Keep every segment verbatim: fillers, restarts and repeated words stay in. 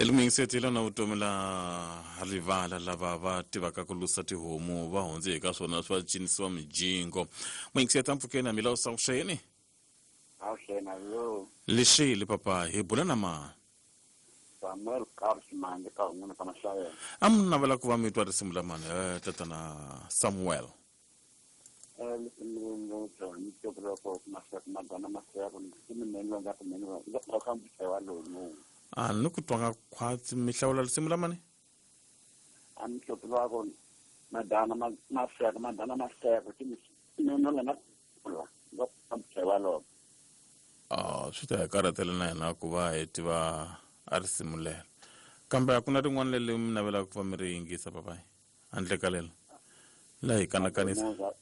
Elumiyingiseti na vutomi la rivala lava va tivaka ku lusa tihomu va hundze eka swona swa cinisiwa mijingo. Muyingiseti ampfukeni a mila usavuxeni. Avuxeni yo. Lexile papa hi bula na mani? Samuel Carlos Manje ka un'wana ka Mahlayela. A mi navela ku va mi twa risimu la mani eh tatana Samuel? Eh lisimu lero ni tokolo maseko madana maseko ni minene nga ku minene nga ka mbutshewa lowu. A ni ku twanga khwatsi mi hlawula risimu la mani? A mi hlawula ko madana maseko madana maseko ti minene la na kula nga ka mbutshewa lowu. Ah swi ta hi karhatela na hina ku va hi tiva a risimu lero. Kambe a ku na rin'wana leri mi navelaka ku va mi ri yingisa papayi handle ka lelo la hi kanakanisa?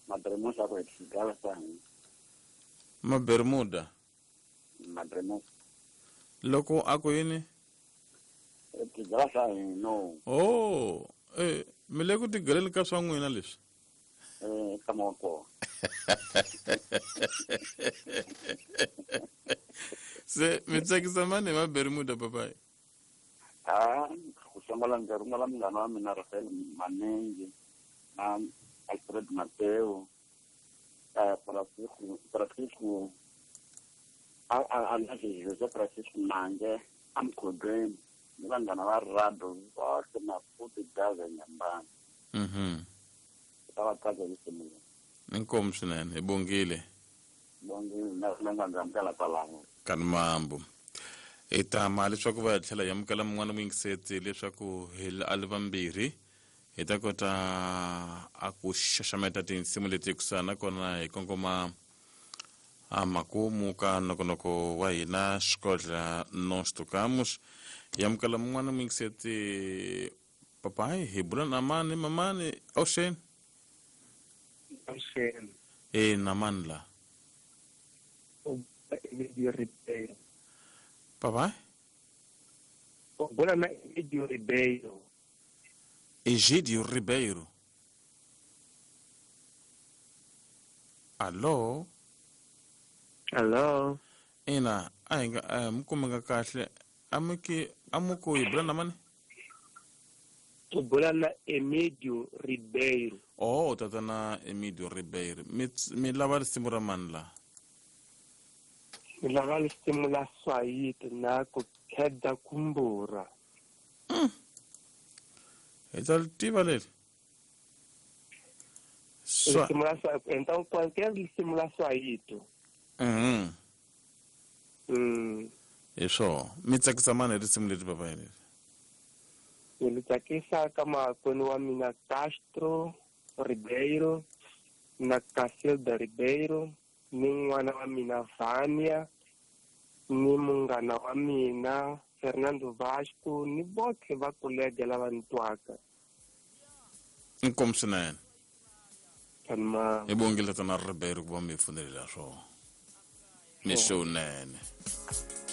Mabermuda ku xigava sa hina. Mabermuda? Mabermuda. Loko a ku yini? Xigava sa hina. Oh, eh mi le ku tigeleni ka swa n'wina leswi? Eh ka moko. Se mi tsakisa mani hi Mabermuda papayi? Ah, ku sungula ndzi rhumela munghana wa mina Rafael Manengi na Alfred Mateo, eh Francisco Francisco a a a Jose Francisco Mange amkhodweni ni vanghana va Rado vohle Maputo Gaza Nyambana. Mhm. Ta va tsaka hi risimu leri. Inkomu swinene hi bongile. Bongile na na nga ndzi amukela kwalano. Kani mambo. Hi tama leswaku va tlhela hi amukela mun'wana muyingiseti leswaku hi a li vambirhi hi ta kota a ku xaxameta tinsimu leti kusuhana nakona hi kongoma a makumu ka nongonoko wa hina Xikodla Nós Tocamos. Hi amukela mun'wana muyingiseti papayi hi bula na mani mamani avuxeni? Avuxeni. E na mani la? Egidio Ribeiro. Papai? U bula na Egidio Ribeiro. Egidio Ribeiro. Allo? Allo? Ina, a hi nga a mi kumeka kahle. A mi ki a mi ku hi bula na mani? U bula na Emidio Ribeiro. Oh, tatana Emidio Ribeiro. Mi mi lava risimu ra mani la? Mi lava risimu la Swahili na ku kheda kumbura. Mm. Hi ta ri tiva leri. Swa Risimu la Swahili, então qualquer risimu la Swahili. Mhm. Mm. Hi swona. Mi tsakisa mani hi risimu leri papayi leri? Ni tsakisa ka makwenu wa mina Castro Ribeiro na Casilda Ribeiro ni n'wana wa mina Vania ni munghana wa mina Fernando Vasco ni botlhe va kolega lava ni twaka. Inkomu swinene. Tama. Hi bongile tatana Ribeiro ku va mi pfunelela swona. Mixo wunene.